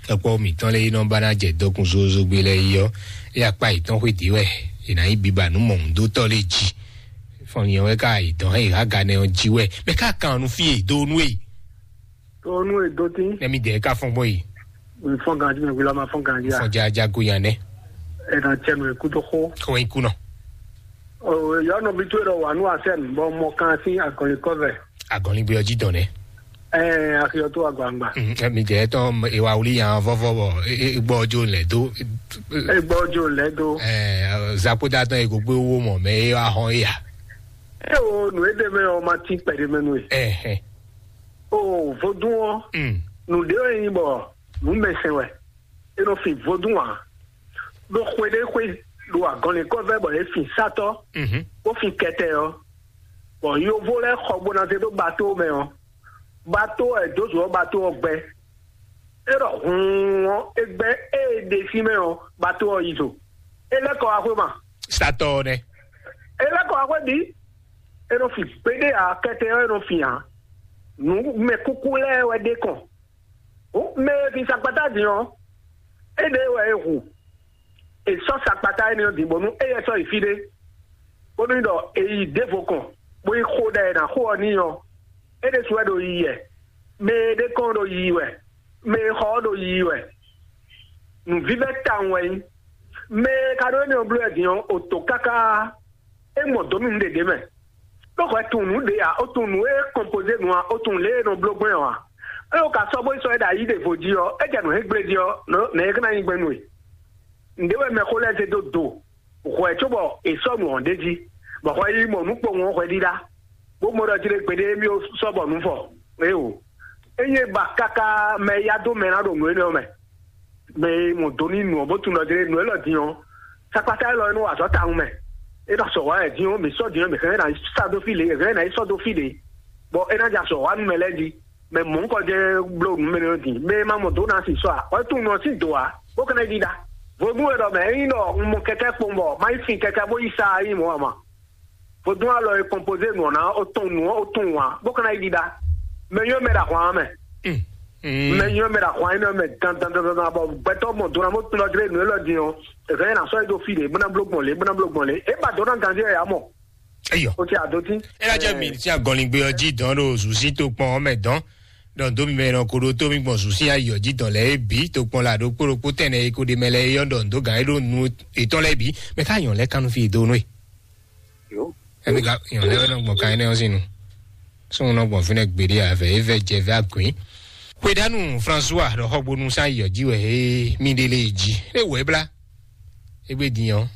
ɛkpɔ mi tɔn lé yi nɔ ba na jɛ dɔkun zozo gbe lɛ yi ɔ e akpa yi tɔn xwe di wɛ e na yi biba nu mɔ ŋu do tɔ lé jí fɔn yɛn wɛ ka yi dɔn e ha ga nɛ ɔ jí wɛ mɛ ka kan nu fi e do nu e Tó nú èdó tí. Nɛ mi dɛ ka fɔn gbɔ yi. Fɔn ganji mi wula ma fɔn ganji a. Fɔn jaja go yan nɛ. Ena cɛ mi kudo xo. Ko yin kunɔ. O yɔ nɔ bi to ɖɔ wa nu asɛn bɔ mɔ kan si agɔli kɔvɛ. Agɔli bi ɔji dɔn nɛ. Ɛɛ akiyɔ to agbangba. Mm, ɛ, mi dɛ tɔn ewa wuli yan vɔvɔ bɔ e, e, gbɔ jo lɛ do. E gbɔ jo lɛ do. Ɛɛ zakoda tɔn e ko gbe wo mɔ mɛ e wa hɔn e ya. E o nu e de mɛ o ma ti kpɛ de mɛ nu e. Ɛhɛn. O vodún ɔ Mm. Nu ɖé wɛ nyí bɔ nǔ mɛ sɛn wɛ. E nɔ fin vodún ǎ. Ɖo xwe ɖé xwe ɖo agɔnlɛnkɔ́ vɛ́ bɔ yě fin sátɔ́ Mhm. bó fin kɛtɛ ɔ́, bɔ yovo lɛ́ɛ xɔ bó ná zé ɖó bato mɛ ɔ́, bato ɔ́ è dǒ zǒ ɔ́ bato ɔ́ gbɛ. É ɖɔ hǔun ɔ́, é gbɛ ée è ɖe sín mɛ ɔ́, bato ɔ́ yi zo. É lɛ́ kɔ wá xwé ma. Satɔ ɔ́ nɛ́. É lɛ́ kɔ wá xwé bǐ. É nɔ fin gbéɖé ǎ, kɛtɛ ɔ́ é nɔ fin ǎ. Nǔ mɛ kúkú lɛ́ɛ wɛ ɖe kɔn. Hǔn mɛ e fin sakpatá din ɔ́, éɖée wɛ è hu. È sɔ́ sakpatá énɛ́ ɔ́ din bónú éyɛ́ sɔ́ yi fí ɖé, bónú ɖɔ è yi ɖěvo kɔn, bó yi xo ɖɛ è nǎ xo ɔ́ n'i ɔ́, é ɖésú wɛ ɖo yiyi wɛ. Mɛ e ɖe kɔn ɔ́ ɖo yiyi wɛ, mɛ e xɔ ɔ́ ɖo yiyi wɛ. Nǔvívɛ́ tawun wɛ nyí. Mɛ e ka ɖó énɛ́ ɔ́ bló wɛ din ɔ́, è to káká. É mɔ dǒ nú nǔɖé ɖě mɛ. Ɖó hwɛ tunwun nǔ ɖě ǎ, ó tunwun nǔ e kɔnpozé nǔ ǎ, ó tunwun lě e è nɔ bló gbɔn ɔ́ ǎ. Ée wǒ ka sɔ́ bó yi sɔ́ é ɖo ayǐ ɖěvo jí ɔ́, é jɛ nǔ hɛn gblé jí ɔ́, nɛ̌ é ká ná nyí gbɛn nú we? Nǔɖé wɛ mɛxó lɛ́ɛ zé dó do, hwɛ cóbɔ è sɔ́ nǔ ɔ́ ɖ'é jí, bɔ hwɛ yi mɔ nǔ kpowun ɔ́ hwɛ ɖíɖá, bó mɔ ɖɔ jí ɖé gbeɖé émí ó sɔ́ bɔ nǔ fɔ. Éeǒ. Ényí é ba káká mɛ e yá dó mɛ ná ɖo nǔ énɛ́ ɔ́ mɛ. Mɛ e mɔ do ní nǔ ɔ́ bó tunwun ɖɔ jlé nǔ élɔ́ din ɔ́, sakpata élɔ́ é nɔ wa azɔ̌ tawun mɛ. É ɖo azɔ̌ wa wɛ din ɔ́, mǐ sɔ́ din ɔ́, mǐ hɛn ná yi sɔ́ dó fí ɖě, mǐ hɛn ná yi sɔ́ dó fí ɖě, bɔ é ná jɛ azɔ̌ wa nú mɛ lɛ́ɛ jí. Mɛ mɔ̌hunkɔ jɛ́n bló nǔ mɛ nɔ din, mɛ e ma mɔ dǒ ná sin sɔ́ ǎ, wɛ tunwun nɔ sín dǒ ǎ, bó ka ná yi ɖiɖa. Vodún e ɖɔ mɛ, ényí ɖɔ un mɔ kɛkɛ́ kpowun bɔ ma yi fin kɛkɛ́ bó yi sa ɔ́, é nyí mɔ̌ ǎ ma. Vodún alɔ e kɔnpozé nǔ ɔ́ ná ó tɔn nǔ ɔ́ ó tɔn wǎn, bó ka ná yi ɖiɖa. Mɛ nyɔ́ mɛ ɖo ahwan ɔ́ mɛ. Mm. Mɛ nyɔ mɛ ɖo ahwan énɛ́ mɛ dandandandan bɔ gbɛtɔ́ mɔ dona bó kplɔ́ dlé nǔ élɔ́ din ɔ́, èzɔ́ yẹn ná sɔ́ yi dó fí ɖě bó ná bló gbɔn lě bó ná bló gbɔn lě é ba dó ná ganjí ɛ yá mɔ. Eyɔ. Ó ti adó tí. Ela jɛ mi tí agɔnlingbe ɔ jí dɔn ɖo zuzí tó kpɔn ɔmɛ dɔn. Dɔn dó mi mɛ nɔ ko ɖó tó mi gbɔn zuzí ayɔ jí dɔn lɛ é bí tó kpɔn la ɖokpó ɖokpó tɛnɛ é ko ɖe mɛ lɛ é yɔ dɔn dó gǎn é ɖó nu étɔn lɛ bí. Mɛ ká yɔn lɛ kanu fi do nú é. Ɛmí ka yɔn lɛ nɔ gbɔn kan énɛ́ ɔ́ sín nu. Súnnu nɔ gbɔn fínɛ́ gbeɖé avɛ é vɛ jɛ vɛ agwǐn. Xwedanu François ɖɔ xɔgbonu sán yɔ jí wɛ é mi ɖe lé jí é wɛ blá. Égbé din ɔ́,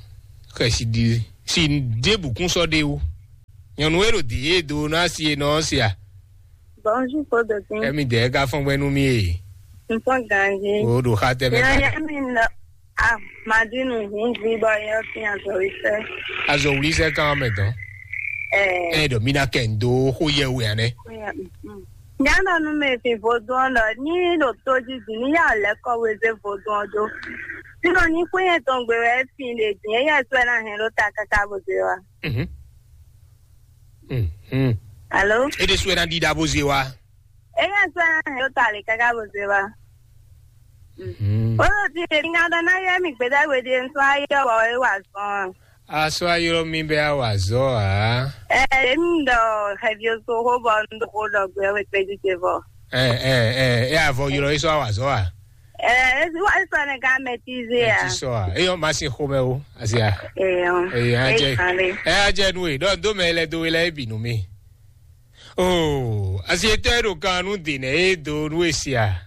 xɛ si ɖi si ɖěbǔ kún sɔ́ ɖé wú. Nyɔ̌nu e ɖo dǐ e do nɔ asi e nɔ ɔ́ se a? Bonjour, Paul de King. Ɛmi dɛ ka fɔn gbɛ nú mi e. N fɔn ganji. O ɖo xa tɛ mɛ. Yɛrɛ yɛ mi nɔ. Ah, Madinu hun vi bɔ yɛ fi azɔwisɛ. Azɔwisɛ kan mɛ dɔn. Ɛɛ. Ɛ dɔ mi na kɛ n do xó yɛ wɛ anɛ. Nyanu nu me fi vodun ɔ́ ɖɔ ní ɖo tójí dǐ ní yá lɛ́ kɔ wezé vodun ɔ́ dó. Sínɔ ní kún yɛ tɔn gbe wɛ fi ɖe dǐ é yɛ sɔ́ ɛ ná hɛn ɖó ta káká bó zé wa. Mhm. Mhm. Alo? E ɖe sɔ́ ɛ ná ɖiɖa bó zé wa. É yɛ sɔ́ ɛ ná hɛn ɖó ta lě káká bó zé wa. Mhm. Ó lɔ ti ɖe ní ŋá ɖɔ ná yɛ mi gbédágbe ɖe nsó ayé ɔ́ wɔ é wa zɔn. Asɔ ayɔrɔ mi bɛ awazɔ a? Ɛ, emi ɖɔ xɛvi oso xó bɔ un ɖo xó ɖɔ gbɛ wɛ kpɛdí ce vɔ. Ɛ ɛ ɛ ɛ avɔ yɔrɔ esɔ awazɔ a? Ɛ, esi wa esɔ ne ka mɛtize a? Ti sɔ a? Eyɔ ma si xomɛ o, asi a? Eyɔ. Eyɔ ajɛ. Ɛ ajɛ nu e, dɔ do mɛ lɛ do we lɛ ebi nu mi. Oo, asi etɔ e ɖo kan nu de nɛ e do nu esi a?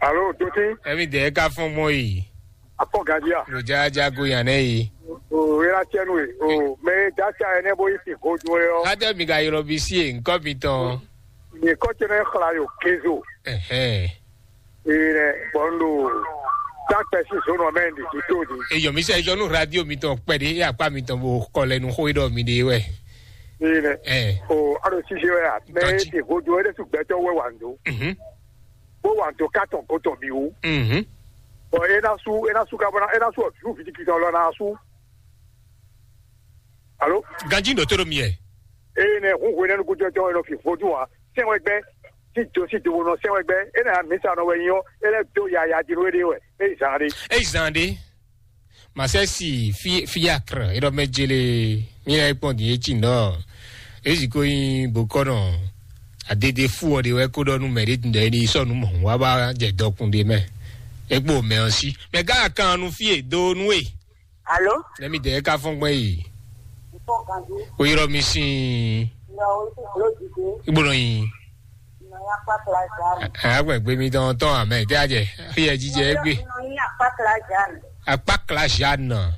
Alo, dote. Ɛmi dɛ ka fɔn mɔ yi. Akɔ gadia. Lo ja ja go yan nɛ yi. O era tiɛ nu e. O mɛ dasa ɛnɛ bo yi si godo yɔ. Adé mi ka yɔrɔ bi si e nkɔ mi tɔn. Ni kɔ tɛ ne xla yo kezo. Ɛhɛn. Ee nɛ bɔn do. Dakpɛ si zone mɛ ndi di to di. Eyɔ mi sɛ jɔ nu radio mi tɔn kpɛ de e akpa mi tɔn bo kɔ lɛ nu xo e dɔ mi de wɛ. Ee nɛ. Ɛ. O alo sise wɛ a. Mɛ e ti godo e de su gbɛtɔ wɛ wa ndo. Mhm. Bó wà tó kátɔn kó tɔn bí wú. Mhm. Bɔn é ná sú é ná sú kábọ́ná é ná sú ọ̀dúrú fìdíkì tán lọ náà sú. Alo. Ganji ɖo tó ɖo mi yɛ. Eye nɛ hun hwe nɛnu gúdú ɛtɔ ɛnɔ fi vodún wa sɛn wɛ gbɛ tí do sí dobo nɔ sɛn wɛ gbɛ é nɛ amisa nɔ wɛ nyɔ é lɛ dó yaya di nú é ɖe wɛ é zan ɖe. Eyi zan ɖe. Masɛsi fi fiakr eɖɔ mɛ jele mi lɛ kpɔn din etsi nɔ ezi ko nyi bokɔnɔ adede fu ɔ de wɛ ko ɖɔ nu mɛ ɖe tun ɖɔ ɛni sɔ nu mɔ wa ba jɛ dɔkun de mɛ ekpo mɛ ɔ si mɛ gã kan nu fi e do nu e. Alo. Ne mi de ka fɔn gbɛ yi. O yɔrɔ mi sin. Igbo nɔ yin. Agbègbè mi tɔn tɔn amɛ tẹ ajẹ fi ẹ jíjẹ egbe. Akpakla Jeanne.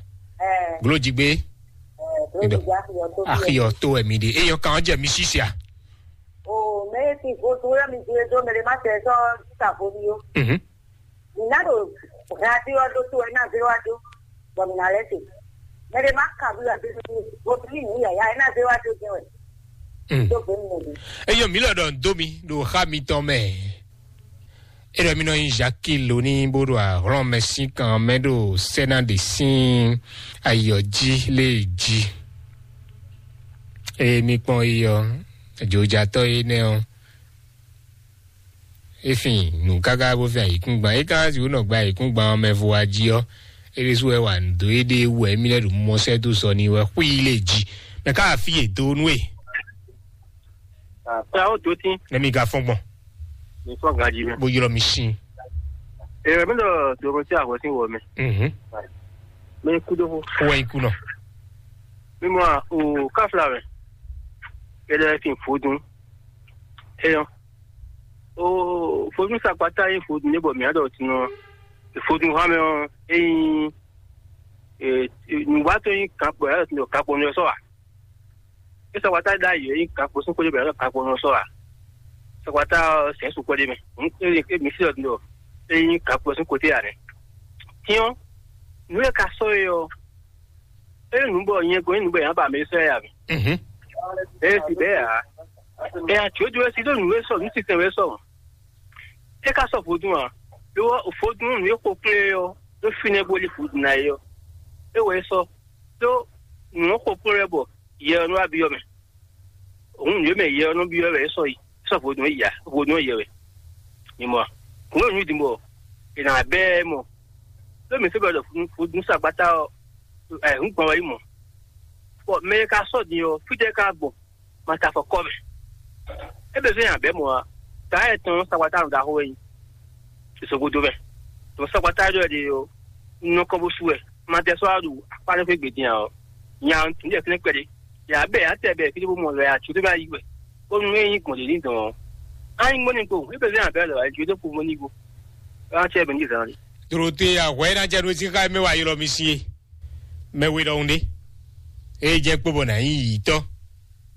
Glo jigbe. Axiyɔ tó ẹ̀mí de eyɔ kan jẹ mi sisia. O mɛ ti vo tu yɔ mi di edo mɛ de ma tɛ sɔ ta vo mi o. Mhm. Mi na do radio ɔ do to ɛ na zero ado bɔ mi na lɛ se. Mɛ de ma ka bi ɔ do mi vo tu mi nu yaya ɛ na zero ado jɛ wɛ. Mm. Do gbe mi mɛ de. Eyɔ mi lɔ dɔ do mi do xa mi tɔn mɛ. Eɖɔ mi nɔ nyi Jacques lóní bó ɖo ahlɔ́nmɛ sín kan mɛ ɖo sɛ́ná ɖě sín ayɔ́jí lé jí. Eye mi kpɔn yi ɔ́, jǒjatɔ́ énɛ́ ɔ́, é fin nǔ káká bó fin ayǐkúngban. É ka sixú nɔ gba ayǐkúngban ɔ́ mɛ vo wá jí ɔ́, é ɖésú wɛ wa nǔ dó éɖée wú wɛ émí lɛ́ ɖo mɔ sɛ́ dó sɔ n'i wɛ xwí lé jí. Mɛ ká wá fí yě dó nú e. Ɛ ó dó tín. Nɛ mi ka fɔn gbɔn. Mi fɔ gaji mɛ. Bo ylɔ mi sin. Ɛ mi ɖɔ doro tí àgọ́ sí wɔ mɛ. Mhm. Mi kú dó fó. Kó wá ikú náà. Mi mɔ o káfíńlá mɛ. Ɛ lɛ fi fòdùn. Ɛ yɔ. O fòdùn sakpata yín fòdùn ní bɔ mìíràn dɔ tinú. Fòdùn hàn mí ɔ. Eyín. Nùgbà tó yín kan pọ̀ yàtọ̀ tó kan pọ̀ ní ọ̀sọ́ wa. Ní sọ̀kpátá dá yìí yín kan pọ̀ sún kó dé bẹ̀rẹ̀ kan pọ̀ ní ọ̀sọ́ wa. Sọ̀kpátá sẹ̀ sùn kó dé mẹ́. Ń mi sí ọ̀dún dọ̀. Eyín kan pọ̀ sún kó dé yà rẹ̀. Tiɲɔ, nú yẹ ka sɔ yẹ ɔ. Eye nǔ bɔ nyɛ gɔn nyi nǔ bɔ yẹn ba mɛ sɔ yà mí. Mhm. Eye ti bɛ yà. Eye ati o jɔ si do nǔ wɛ sɔ nǔ titɛ wɛ sɔ. E ka sɔ vodún a? Lo vodún nǔ e xo kplé ɔ, ɖó fínɛ́ bó lí vodún ná é ɔ. É wɛ é sɔ. Ɖó nǔ ɔ́ xo kplé wɛ bɔ yɛ ɔ́ nɔ wá byɔ́ mɛ. Òun nǔ e mɛ yɛ ɔ́ nɔ byɔ́ wɛ é sɔ yi. É sɔ vodún é yi a? Vodún é yɛ wɛ. Mi mɔ a? Kún yě nyí din bɔ è nǎ bɛ́ ɛ mɔ. Ɖó mǐ sɔ́ bɔ ɖɔ vodún sagbata ɔ́, ɛ hǔn gbɔn wɛ nyí mɔ̌. Bɔ mɛ e ka sɔ́ din ɔ́, fítɛ́ ka gbɔn? Ma ta afɔ kɔ mɛ. É bɛ zɔ́n nya bɛ́ mɔ̌ ǎ. Ta ɛ tɔn sagbata nɔ ɖaxó wɛ nyí. Sisɔgodo mɛ. Tɔn sagbata ɖɔ ɖe ɔ́, nɔ kɔ bó su wɛ. Ma tɛ sɔ́ wá ɖu akpá ɖé xwé gbe din ǎ ɔ́, nya ɔ́ tún ɖe fínɛ́ kpɛɖé. Yǎ bɛ yǎ tɛ bɛ fí ɖé bó mɔ lɔ yǎ tún ɖé bá yí wɛ. Bónú é nyí gbɔn ɖě ní dɔn ɔ́, á nyí gbɔn ní kpo, é bɛ zɔ́n nya bɛ́ lɔ ǎ, jǒ dó kpo mɔ ní go. Á tɛ bɛ ní zǎn ɖé. Dorote ahwɛ ná jɛ ɖo sí xá mɛ wa ylɔ mi sí e. Mɛ we ɖɔhun ɖé. Eye jɛ kpo bɔ nà nyí yǐtɔ.